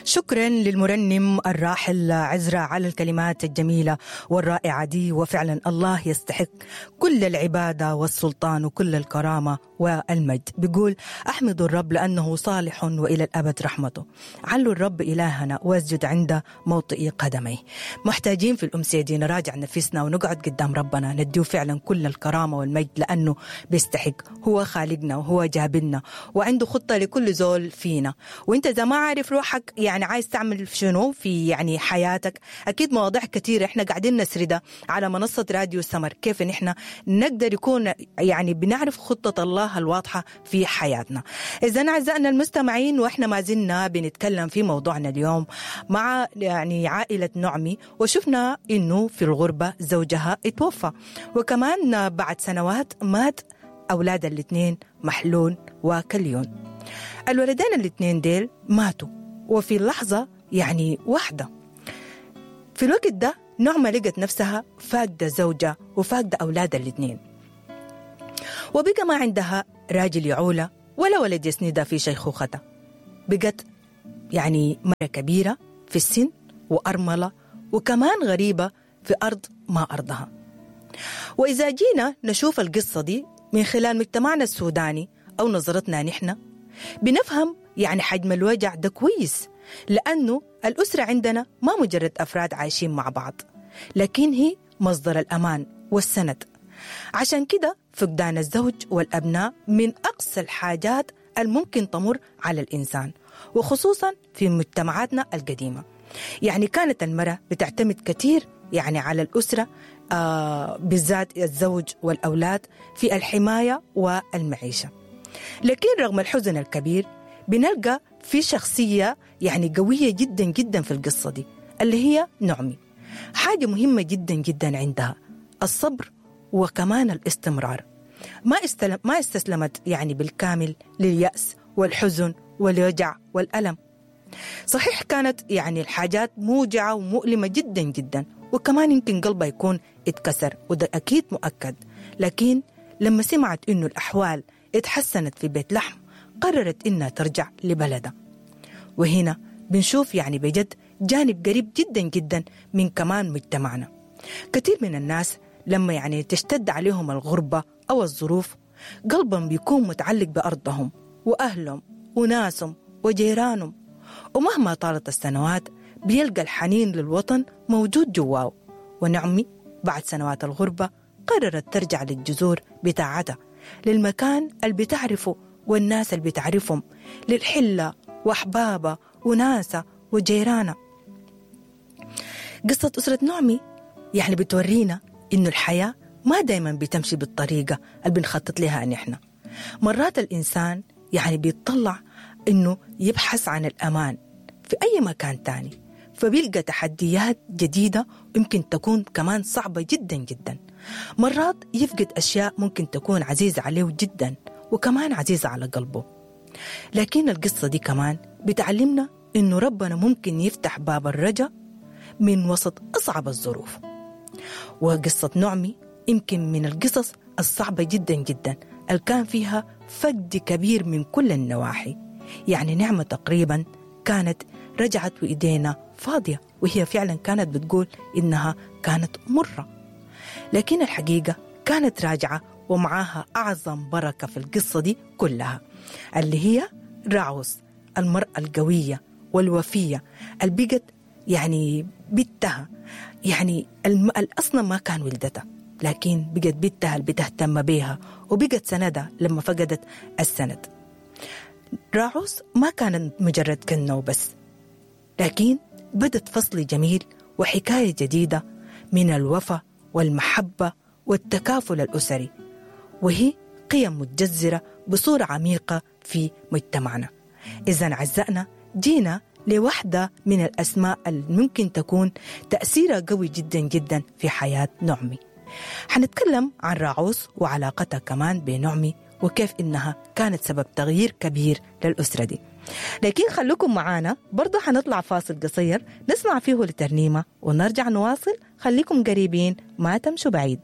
شكرا للمرنم الراحل عزرا على الكلمات الجميلة والرائعة دي، وفعلا الله يستحق كل العبادة والسلطان وكل الكرامة والمجد. بيقول أحمد الرب لأنه صالح وإلى الأبد رحمته، علوا الرب إلهنا واسجد عند موطئ قدميه. محتاجين في الأمسية دي نراجع نفسنا ونقعد قدام ربنا نديه فعلا كل الكرامة والمجد لأنه بيستحق، هو خالقنا وهو جابلنا وعنده خطة لكل زول فينا. وانت إذا ما عارف روحك يعني عايز تعمل شنو في يعني حياتك، أكيد مواضيع كثيرة احنا قاعدين نسردها على منصة راديو سمر، كيف نحن نقدر يكون يعني بنعرف خطة الله الواضحة في حياتنا. إذا أعزائنا المستمعين، وإحنا ما زلنا بنتكلم في موضوعنا اليوم مع يعني عائلة نعمي، وشفنا إنه في الغربة زوجها اتوفى، وكمان بعد سنوات مات أولاد الاثنين محلون وكليون. الولدين الاثنين ديل ماتوا وفي لحظة يعني واحدة. في الوقت ده نعمة لقت نفسها فاقدة زوجة وفاقدة أولاد الاثنين، وبقى ما عندها راجل يعولة ولا ولد يسندها في شيخوختها. بقت يعني مرة كبيرة في السن وأرملة وكمان غريبة في أرض ما أرضها. وإذا جينا نشوف القصة دي من خلال مجتمعنا السوداني أو نظرتنا نحن، بنفهم يعني حجم الوجع ده كويس، لأنه الأسرة عندنا ما مجرد أفراد عايشين مع بعض، لكن هي مصدر الأمان والسند. عشان كده فقدان الزوج والأبناء من أقصى الحاجات الممكن تمر على الإنسان، وخصوصا في مجتمعاتنا القديمة. يعني كانت المرأة بتعتمد كثير يعني على الأسرة، بالذات الزوج والأولاد، في الحماية والمعيشة. لكن رغم الحزن الكبير بنلقى في شخصية يعني قوية جدا جدا في القصة دي، اللي هي نعمي. حاجة مهمة جدا جدا عندها الصبر وكمان الاستمرار. ما استسلمت يعني بالكامل لليأس والحزن والوجع والألم. صحيح كانت يعني الحاجات موجعة ومؤلمة جدا جدا، وكمان يمكن قلبها يكون اتكسر، وده أكيد مؤكد. لكن لما سمعت إنه الأحوال اتحسنت في بيت لحم، قررت إنها ترجع لبلدها. وهنا بنشوف يعني بجد جانب قريب جدا جدا من كمان مجتمعنا. كثير من الناس لما يعني تشتد عليهم الغربة أو الظروف، قلبهم بيكون متعلق بأرضهم وأهلهم وناسهم وجيرانهم، ومهما طالت السنوات بيلقى الحنين للوطن موجود جواه. ونعمي بعد سنوات الغربة قررت ترجع للجذور بتاعتها، للمكان اللي بتعرفه والناس اللي بتعرفهم، للحلة وأحبابها وناسها وجيرانها. قصة أسرة نعمي يعني بتورينا إنه الحياة ما دايما بتمشي بالطريقة اللي بنخطط لها نحن. مرات الإنسان يعني بيطلع إنه يبحث عن الأمان في أي مكان تاني، فبيلقى تحديات جديدة يمكن تكون كمان صعبة جدا جدا. مرات يفقد أشياء ممكن تكون عزيزة عليه جدا وكمان عزيزة على قلبه. لكن القصة دي كمان بتعلمنا إنه ربنا ممكن يفتح باب الرجاء من وسط أصعب الظروف. وقصة نعمي يمكن من القصص الصعبة جدا جدا اللي كان فيها فقد كبير من كل النواحي. يعني نعمة تقريبا كانت رجعت وإيدينا فاضية، وهي فعلا كانت بتقول إنها كانت مرة، لكن الحقيقة كانت راجعة ومعاها أعظم بركة في القصة دي كلها، اللي هي راعوس، المرأة القوية والوفية اللي بقت يعني بنتها، يعني أصلا ما كان ولدتها، لكن بقت بنتها اللي بتهتم بيها وبقت سندها لما فقدت السند. راعوس ما كانت مجرد كنة وبس، لكن بدت فصل جميل وحكاية جديدة من الوفا والمحبة والتكافل الأسري، وهي قيم متجذرة بصورة عميقة في مجتمعنا. إذا عزائنا جينا لوحدة من الأسماء اللي ممكن تكون تأثيرها قوي جدا جدا في حياة نعمي. حنتكلم عن راعوس وعلاقتها كمان بنعمي، وكيف إنها كانت سبب تغيير كبير للأسرة دي. لكن خلوكم معانا برضو، حنطلع فاصل قصير نسمع فيه لترنيمة ونرجع نواصل. خليكم قريبين ما تمشوا بعيد.